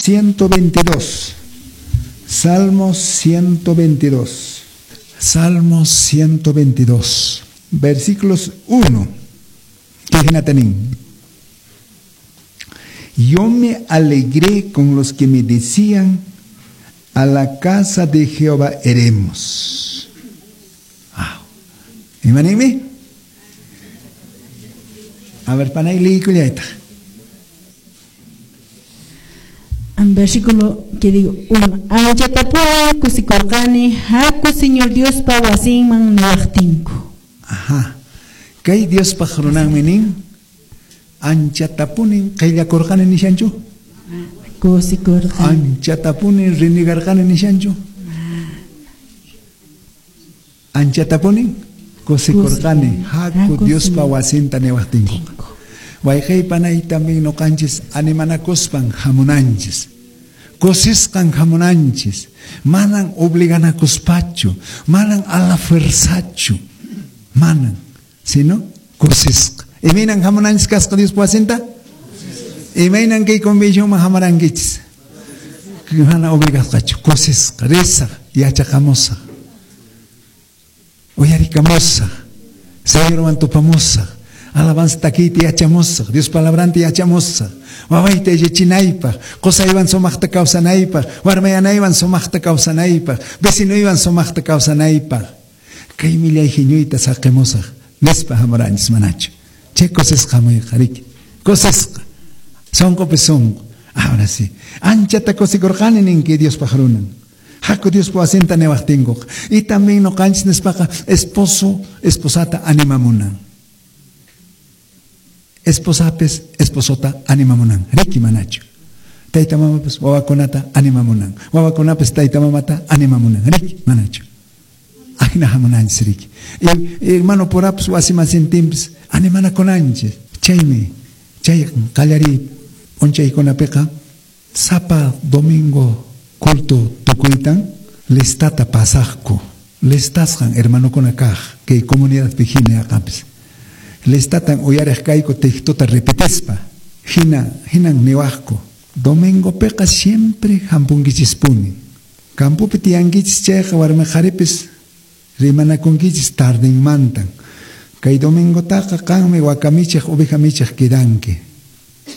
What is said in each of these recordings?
122. Salmo 122. Salmo 122. Versículos 1. Yo me alegré con los que me decían, a la casa de Jehová iremos. Wow. Imanimi? A ver, panay liykullayta. Versículo que digo, 1. Anchatapuni kusikurqani, haku Señor Diospa wasinman niwaqtinku. Ajá. Kay Diospaq runanmi nin, anchatapunin qillakurqani nishanchu? Kusikurqani. Anchatapunin rinigarqani nishanchu? Anchatapunin kusikurqani, haku Diospa wasinta niwaqtinku. Wayqey panay también noqanchis animanakuspan hamunanchis. Kusisqan hamunanchis. Manan obliganakuspachu, manan a la fuerzachu. Manan, sino kusisqa. Imaynan hamunanchis kasqa Diospa wasinta? Imaynan kay convencionman hamurankichis? Mana obligasqachu, kusisqa, risaq, yachaqamusaq. Uyarikamusaq, Señorwan tupamusaq. Alabanza takiyta yachamusaq, Dios palabranta yachamusaq. Wawayta yachachinaypaq, qusaywan sumaqta kawsanaypaq, warmayanaywan sumaqta kawsanaypaq, vecinuywan sumaqta kawsanaypaq. Kay millay hiñuyta saqimusaq, nispa hamuranchis manachu. Chay kusisqa hamuyqa, riki. Kusisqa. Sunqupi sunqu. Ahora sí. Anchata kusikurqani ninki Diospaq runan. Haku Diospa wasinta niwaqtinkuqa. Y también noqanchis nispaqa esposo, esposata animamunan. Esposapis, esposota animamunan. Riki manachu. Tayta mamapas wawakunata animamunan. Wawakunapis tayta mamata animamunan. Riki manachu. Ajina hamunanchis riki. Y hermano purapis wasimasintinpis animanakunanchis. Chaymi, chay qallariy p'unchaykunapiqa sapa domingo culto tukuytan listata pasaqku. Listasqan hermanokuna kaq kay comunidadpi hina yaqapis. Listatan uyariq kayku textota repetispa. Hina, hinan niwaqku. Domingopiqa siempre hampunkichispuni. Campopi tiyankichis chayqa warmi qharipis rimanakunkichis tardinmantan. Kay domingotaqa qanmi wakamichiq ovejamichiq quedanki.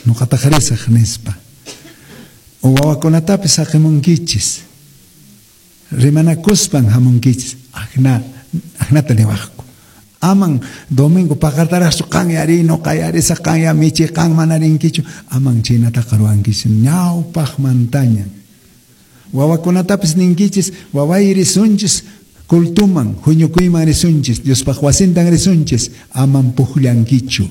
Nuqataq risaq nispa. O wawakunatapis saqimunkichis. Rimanakuspan hamunkichis. Ajna, ajnata niwaqku. Aman domingo paqartaraqchu qan yari nuqa yarisaq qan ya michi qan mana rinkichu. Aman chaynataqa ruwankichis ñawpaqmantaña. Wawakunatapis ninkichis waway risunchis cultuman huñukuyman risunchis Diospaq wasintan risunchis. Aman puqllankichu.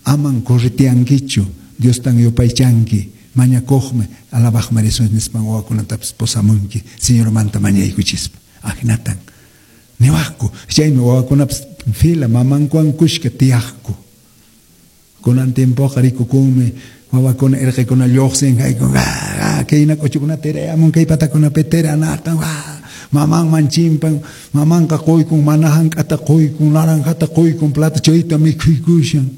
Aman corretiankichu. Diostan yupaychanki. Mañakuqmi alabaqmi risunchis nispan wawakunatapis pusamunki Señormanta mañaykuchispa. Ajnatan niwaqku. Chaymi wawakunapis fila mamankuwan kushka tiyaqku. Kunan tiempoqa rikukunmi wawakuna irqikuna lluqsin haykun kayna k'uchukuna tirayamun kay patakunapi tiranatan mamanman chimpan mamanqa quykun mana hank'ata quykun naranjata quykun plata chayta mikhuykushan.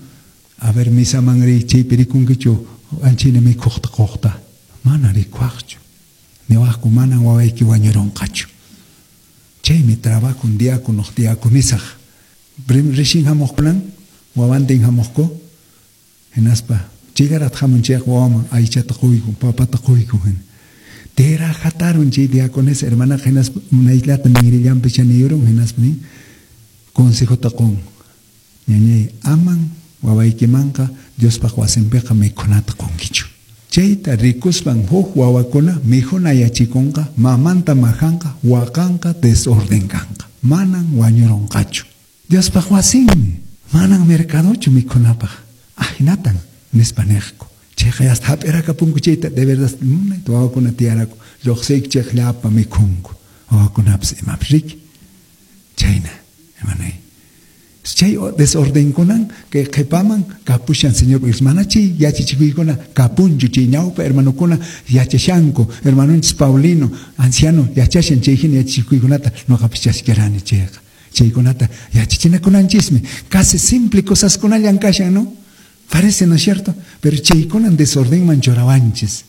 A ver misaman riy chaypi rikunkichu anchina mikhuqta quqta. Mana rikuaqchu. Niwaqku manan wawayki wañurunqachu. Chaymi trabajo un diácono, diaconisaq. Rishin hamuqkunan, wawantin hamuqku, hinaspa chigarat hamun chayqa wawaman aychata quykun, papata quykun hina. Tera hatarun chay diaconesa hermanaqa hinaspa munayllata ninrillanpi chaniyurun hinaspa nin consejota qun. Ñañay, aman wawaykimanqa Diospaq wasinpiqa mikhunata qunkichu. Chayta rikuspan huk wawakuna mikhunayachikunqa, mamanta majanqa, waqanqa, desorden kanqa. Manan wañurunqachu. Diospaq wasinmi, manan mercadochu mikhunapaq. Ajinatan nispa niqku. Chayqa hasta hap'irakapunku chayta de verdad munayta wawakuna tiyaraku. Lluqsiyku chayqa llapa mikhunku. Wawakunapis imapis riki. Chayna, hermanay. Chay desordenkunan kay qhipaman kapushan Señor mana chay yachachikuykuna kapunchu chay ñawpa hermanokuna yachashanku hermanonchis Paulino anciano yachashan chay hina yachachikuykunata nuqapis chaskirani chayqa chaykunata yachachinakunanchismi casi simple cosaskunallan kashan, ¿no? Parece, ¿no es cierto? Pero chaykunan desordenman churawanchis.